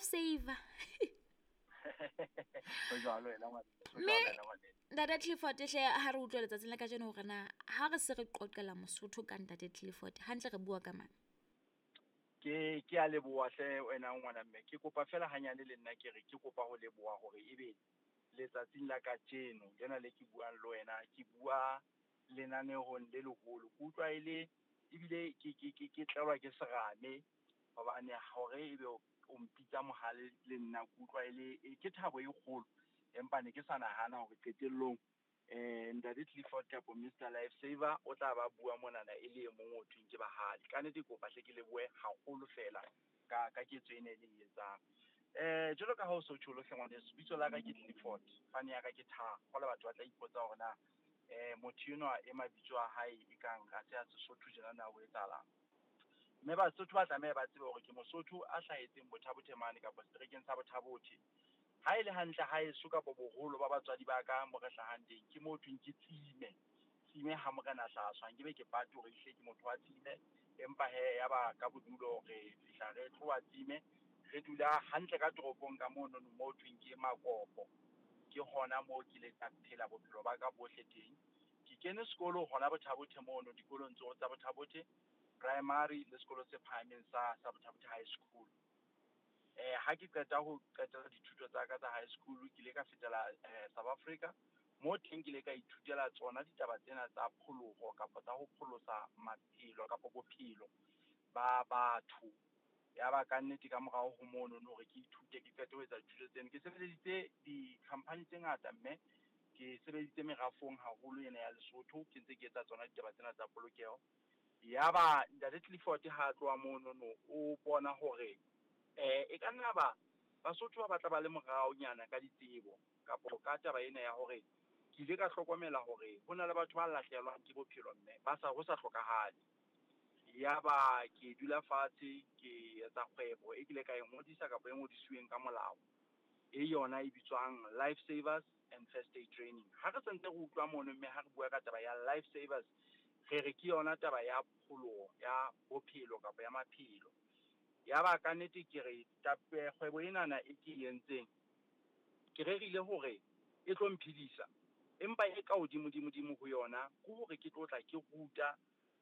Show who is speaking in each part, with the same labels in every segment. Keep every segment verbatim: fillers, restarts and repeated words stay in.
Speaker 1: saver.
Speaker 2: Ho jwalo wena ngwane.
Speaker 1: Mme Ntate Clifford hle ha re utlwa letsatsing la kajeno hore na ha re se re qoqela Mosotho ka Ntate Clifford, hantle re bua ka mang?
Speaker 2: Ke ke a leboha hle wena ngwana mme. Ke kopa fela hanyane le nna ke re ke kopa ho leboha hore ebe letsatsing la kajeno lena le ke buang le wena, ke bua lenanehong le leholo. Ke utlwa e le ebile ke ke ke ke tlelwa ke serame hobane hore ebe o mpitsa mohale le nna ke utlwa e le ke thabo e kgolo. Empa ne ke sa nahana hore qetellong eh Ntate Clifford kapa Mister Life Saver o tla ba bua monana e le e mong o thweng ke bahale. Ka nnete ke kopa hle ke lebohe haholo fela ka ka ketso ena e le e etsang. Eh jwalo ka ha o so tjholo hle ngwaneso, bitso la ka ke Clifford, fane ya ka ke Thakgo. Jwale batho ba tla ipotsa hore na eh motho enwa e mabitso a hae e kang ha se a Sesotho tjena na ho etsahalang. Mme Basotho ba tlameha ba tsebe hore ke Mosotho a hlahetseng Botha-Bothe mane kapa seterekeng sa Botha-Bothe. Ha e le hantle haeso kapa boholo ba batswadi ba ka mo re hlahang teng ke mo thweng ke Tsime. Tsime ha morena hlaswa, nke be ke pate hore ehlile ke motho wa Tsime, empa he ya ba ka bodulo re fihla re tloha Tsime, re dula hantle ka toropong ka mono mo thweng ke Makopo. Ke hona moo ke ileng ka phela bophelo ba ka bohle teng. Ke kene sekolo hona Botha-Bothe mono dikolong tsohle tsa Botha-Bothe primary le sekolo se phahameng sa sa Botha-Bothe High School. Eh ha ke qeta ho qetela dithuto tsa ka tsa high school, ke ile ka fetela eh South Africa. Mo teng ke ile ka ithutela tsona ditaba tsena tsa pholoho kapa tsa ho pholosa maphelo kapa bophelo ba batho. Ya ba ka nnete ka morao ho mono hore ke ithute ke qete ho etsa dithuto tseno. Ke sebeleditse di-company tse ngata mme ke sebeditse merafong haholo ena ya Lesotho, ke ntse ke etsa tsona ditaba tsena tsa polokeho. Ya ba Ntate Clifford ha tloha mono no o bona hore eh e ka nna ba Basotho ba batla ba le moraonyana ka ditsebo kapa ka taba ena ya hore ke ile ka hlokomela hore ho na le batho ba lahlehelwang ke bophelo mme ba sa ho sa hlokahale. Ya ba ke dula fatshe ke etsa kgwebo e kile ka e ngodisa kapa e ngodisiweng ka molao, e yona e bitswang Life Savers and First Aid Training. Ha re sentse re utlwa mono mme ha re bua ka taba ya Life Savers, re re ke yona taba ya pholoho ya bophelo kapa ya maphelo. Ya ba ka nnete ke re kgwebo enana e ke e entseng, ke rerile hore e tlo mphedisa, empa e ka hodimo-dimo-dimo ho yona ke hore ke tlo tla ke ruta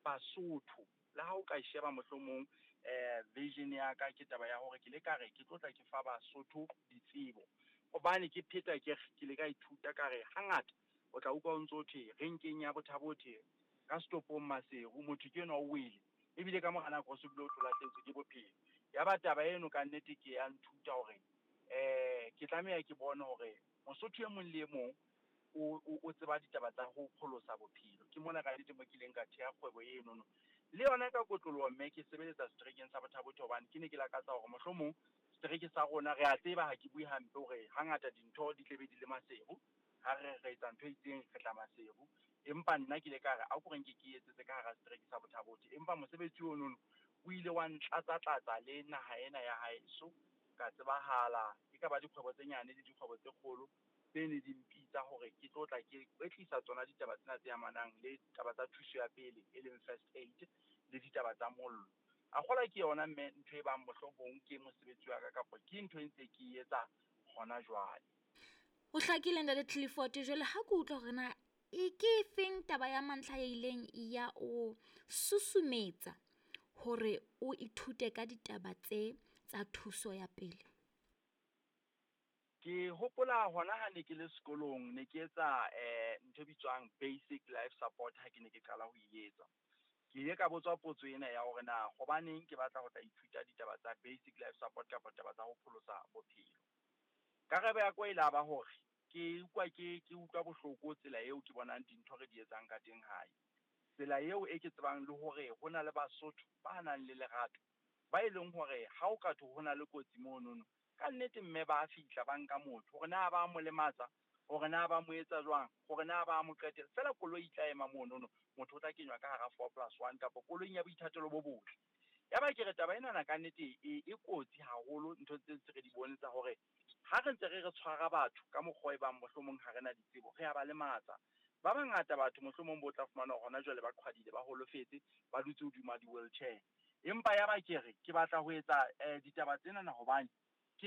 Speaker 2: Basotho. Le ha o ka sheba mohlomong eh vision ya ka ke taba ya hore ke le ka re ke tlo tla ke fa Basotho ditsebo. Hobane ke pheta ke ke le ka ithuta ka re hangata o tla utlwa o ntso thwe renkeng ya Botha-Bothe ka stopong Maseru motho ke enwa o wele, ebile ka mora nako o se bile o tlo lahlehetswe ke bophelo. Ya ba taba eno ka nnete ke ya nthuta hore eh ke tlameha ke bone hore Mosotho e mong le e mong o o tseba ditaba tsa ho pholosa bophelo. Ke mona ka nnete mo ke ileng ka theha kgwebo eno no. Le yona ka kotloloho mme ke sebeletsa seterekeng sa Botha-Bothe hobane ke ne ke lakatsa hore mohlomong setereke sa rona re a tseba, ha ke bue hampe hore hangata dintho di tlebe di le Maseru, ha re re etsa ntho e itseng re tla Maseru. Empa nna ke ile ka re a ko re nke ke etsetse ka hara setereke sa Botha-Bothe. Empa mosebetsi ono o ile wa ntlatsa-tlatsa le naha ena ya haeso, ka tsebahala e ka ba dikgwebo tse nyane le dikgwebo tse kgolo tse ne di mpitsa hore ke tlo tla ke kwetlisa tsona ditaba tsena tse amanang le taba tsa thuso ya pele e leng first aid le ditaba tsa mollo. A kgola ke yona mme ntho e bang mohlomong ke mosebetsi wa ka kapa ke ntho e ntse ke etsa hona jwale.
Speaker 1: Ho hlakile Ntate Clifford. Jwale ha ke utlwa hore na e ke efeng taba ya mantlha e ileng ya o susumetsa hore o ithute ka ditaba tse tsa thuso ya pele?
Speaker 2: Ke hopola hona ha ne ke le sekolong ne ke etsa eh ntho e bitswang basic life support ha ke ne ke qala ho e etsa. Ke ile ka botswa potso ena ya hore na hobaneng ke batla ho tla ithuta ditaba tsa basic life support kapa taba tsa ho pholosa bophelo. Karabo ya ka e la ba hore ke utlwa ke ke utlwa bohloko tsela eo ke bonang dintho re di etsang ka teng hae. Tsela eo e ke tsebang le hore ho na le Basotho ba nang le lerato ba e leng hore ha o ka thwe ho na le kotsi monono, ka nnete mme ba fihla ba nka motho hore na ba mo lematsa, hore na ba mo etsa jwang, hore na ba mo qetela. Feela koloi e tla ema monono, motho o tla kenywa ka hara four plus one kapa koloing ya boithatelo bo botle. Ya ba ke re taba enana ka nnete e e kotsi haholo, ntho tse ntse re di bone tsa hore ha re ntse re re tshwara batho ka mokgwa e bang mohlomong ha re na ditsebo, re a ba lematsa. Ba bangata batho mohlomong bo tla fumana hona jwale ba qhwadile, ba holofetse, ba dutse hodima di-wheelchair. Empa ya ba ke re ke batla ho etsa eh ditaba tsenana hobane